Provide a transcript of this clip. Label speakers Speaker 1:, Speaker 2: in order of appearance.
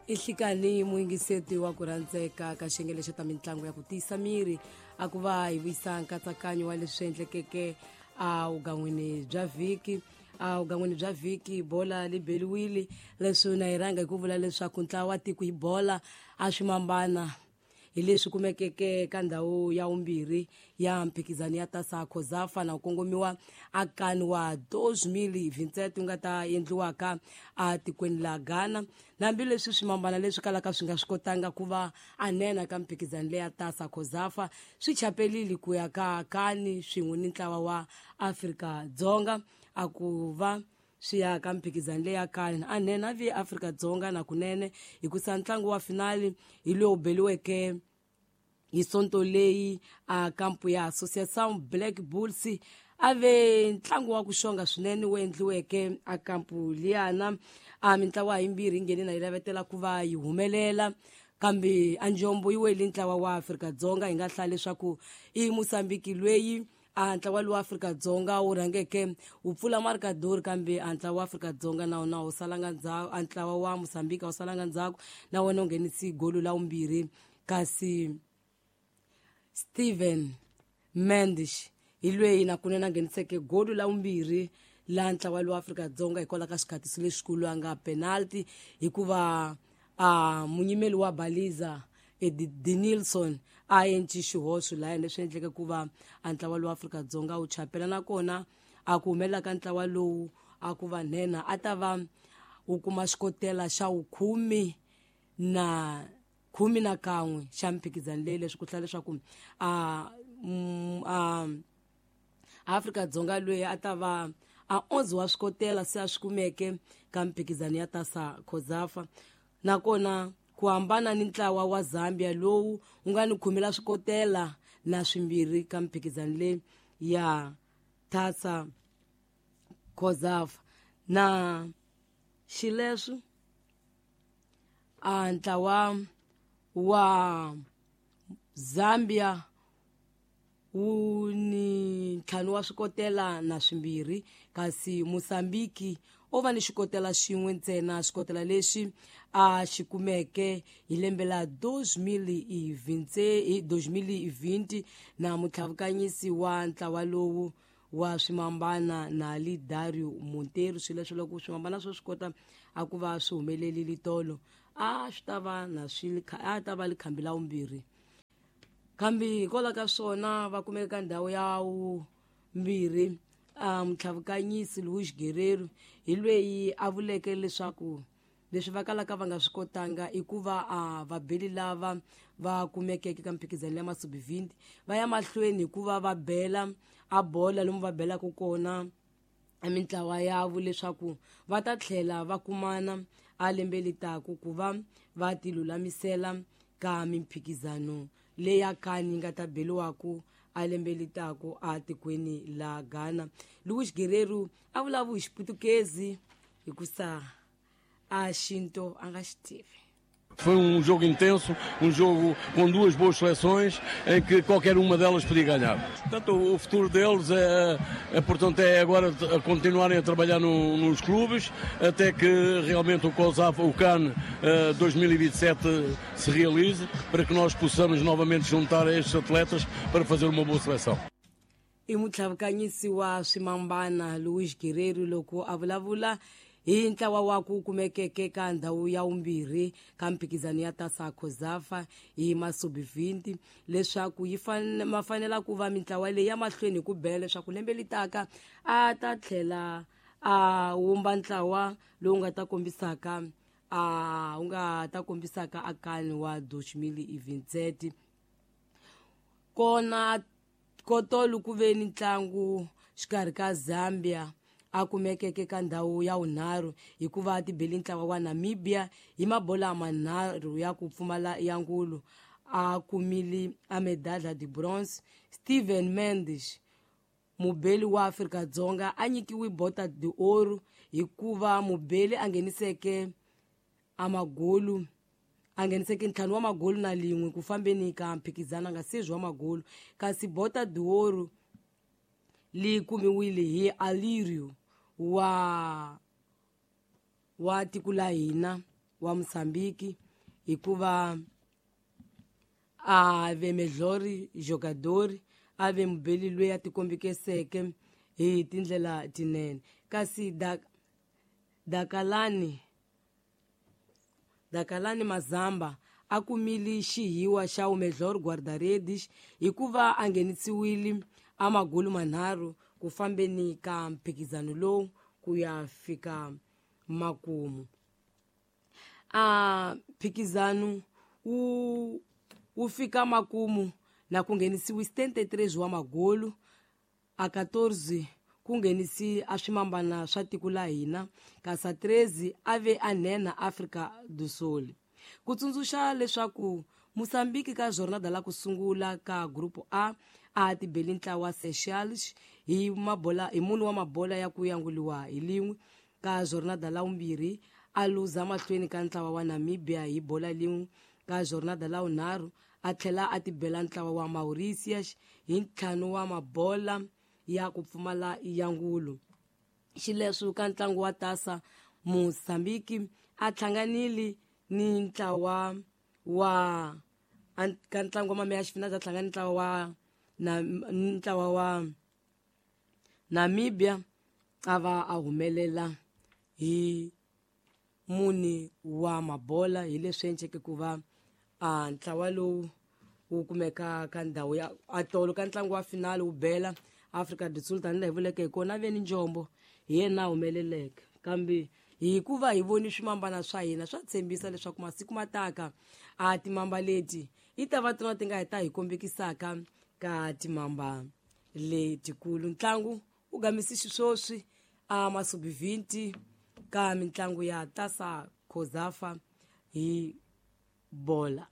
Speaker 1: I hlikani muyingiseti wa ku rhandzeka ka xiyenge lexo ta mitlangu ya ku tiyisa miri a ku va hi vuyisa nkatsakanyo wa leswi endlekeke evugan'wini bya vhiki. Evugan'wini bya vhiki bola li beliwile, leswi na hi rhanga hi ku vula leswaku ntlawa wa tiko hi bola a swi mambana hi leswi kumekeke ka ndhawu ya vumbirhi ya mphikizano ya tasa COSAFA na ku kongomiwa akani wa 2027 wu nga ta endliwaka atikweni la Ghana. Hambileswi swimambana leswi kalaka swi nga swi kotanga ku va anena ka mphikizano leya tasa COSAFA, swi chapelile ku ya ka kani swin'we ni ntlawa wa Afrika-Dzonga a ku va swi ya ka mphikizano leya kani anene a vi Afrika-Dzonga na kunene, hikusa ntlangu wa finali hi lowu beliweke hi sonto leyi a kampu ya Associação Black Bulls. A ve ntlangu wa ku xonga swinene wu endliweke a kampu liyana. A mintlawa yimbirhi yi nghene na yi lavetela ku va yi humelela, kambe a njombo yi wele ntlawa wa Afrika-Dzonga. Hi nga hlaya leswaku i Mosambiki lweyi a ntlawa lowu Afrika-Dzonga wu rhangeke wu pfula markador, kambe a ntlawa wa Afrika-Dzonga na wona wu salanga ndzhaku, a ntlawa wa Mosambiki a wu salanga ndzhaku, na wona wu nghenisi golo la vumbirhi, kasi Steven Mendes hi lweyi na kunene a ngheniseke golo la vumbirhi la ntlawa lowu Afrika-Dzonga hikwalaho ka xikhatiso lexikulu a nga penalty, hikuva a munyimeli wa Baliza Denilson a enci xihoxo laya, leswi endleke ku va a ntlawa lowu Afrika-Dzonga wu chapela. Nakona a ku humelela ka ntlawa lowu a ku va nhenha a ta va wu kuma xikotela xa wukhume na 11 xa mphikizano leyi, leswi ku hlaya leswaku a a Afrika-Dzonga loyi a ta va a 11 wa swikotela se a swi kumeke ka mphikizano ya tasa COSAFA. Nakona ku hambana ni ntlawa wa Zambia lowu wu nga ni 10 la swikotela na swimbirhi ka mphikizano leyi ya tasa COSAFA. Na xileswo a ntlawa wa Zambia wu ni 5 wa swikotela na swimbirhi, kasi Mosambiki o va ni xikotela xin'we ntsena, xikotela lexi a xi kumeke hi lembe la 2020 na mutlhavukanyisi wa ntlawa lowu wa swimambana na Dario Monteiro. Swilo leswi loko swimambana swo swi kota a ku va swi humelelile tolo, a swi ta va na swi a ta va likhambi la vumbirhi, kambe hikwalaho ka swona va kumeka ka ndhawu ya vumbirhi. A mutlhavukanyisi Luis Guerrero hi lweyi a vuleke leswaku leswi va kalaka va nga swi kotanga i ku va a vabeli lava va kumekeke ka mphikizano ya masubivhindi va ya mahlweni hikuva va bela a bola lomu va belaka kona mintlawa yavo, leswaku va ta tlhela va kumana a lembe litaku ku va va ti lulamisela ka mimphikizano leya kani yi nga ta beliwaku a lembe litaku a tikweni la Ghana. Luis Guerrero a vulavula hi Xiputukezi hikusa a xinto a nga xi tivi.
Speaker 2: Foi um jogo intenso, um jogo com duas boas seleções, em que qualquer uma delas podia ganhar. Portanto, o futuro deles é, portanto, é agora a continuarem a trabalhar no, nos clubes, até que realmente o COSAF, o CAN 2027 se realize, para que nós possamos novamente juntar estes atletas para fazer uma boa seleção.
Speaker 1: I mutlhavukanyisi wa swimambana Luis Guerrero loko a vulavula hi ntlawa wa ku kumekeke ka ndhawu ya vumbirhi ka mphikizano ya tasa COSAFA hi masubivhindi, leswaku yi ma fanela ku va mintlawa leyi ya mahlweni hi ku bela, leswaku lembe litaka a ta tlhela a wumba ntlawa lowu nga ta kombisaka a wu nga ta kombisaka akani wa 2027. Kona kotolo ku ve ni ntlangu xikarhi ka Zambia a kumekeke ka ndhawu ya vunharhu hikuva ti beli ntlawa wa Namibia hi mabola manharhu ya ku pfumala ya ngulu, a kumile a medalha de bronze. Steven Mendes mubeli wa Afrika-Dzonga a nyikiwe Bota de Ouro hikuva mubeli a ngheniseke amagolu, a ngheniseke 5 wa magolu na lin'we ku fambeni ka mphikizano nga sezwi wa magolu, kasi Bota de Ouro li kumiwile hi Alirio wa tiko la hina. wa Mosambiki hikuva a ve melhor jogador, a ve mubeli loyi a tikombekiseke hi tindlela tinene. Kasi Dakalani Mazamba a kumile xihiwa xa o melhor guarda-redes hikuva a nghenisiwile a magulu manharhu ku fambeni ka mphikizano lowu ku ya fika makumu. A mphikizano wu fika makumu na ku nghenisiwe 73 wa magolu, a 14 ku nghenisi a swimambana swa tiko la hina, kasi a 13 a ve a nhenha Afrika do Sul. Ku tsundzuxa leswaku Mosambiki ka jornada la ku sungula ka Grupo A a tibeli ntlawa Seychelles hi mabola hi mune wa mabola ya ku yanguliwa hi lin'we. Ka jornada la vumbirhi a luza mahlweni ka ntlawa wa Namibia hi bola lin'we. Ka jornada la vunharhu a tlhela a tibela ntlawa wa Mauritius hi ntlhanu wa mabola ya ku pfumala yangulo. Xileswi ka ntlangu wa tasa Mosambiki a hlanganile ni ntlawa wa ka ntlangu wa mameya xifina a hlangana ntlawa wa na ntlawa wa Namibia a va a humelela hi mune wa mabola. Hi leswi endleke ku va a ntlawa lowu wu kumeka ka ndhawu ya atolo ka ntlangu wa finale wu bela Afrika do Sul tanihi laha hi vuleke hi kona ve ni njombo hi yena a humeleleke. Kambe hikuva hi voni swimambana swa hina swa tshembisa leswaku masiku mataka a timamba leti i ta va tona ti nga hi ta hi kombekisaka ka timamba letikulu. Ntlangu wu gamisi xiswoswi a masubi 20 ka mitlangu ya tasa Cosafa hi bola.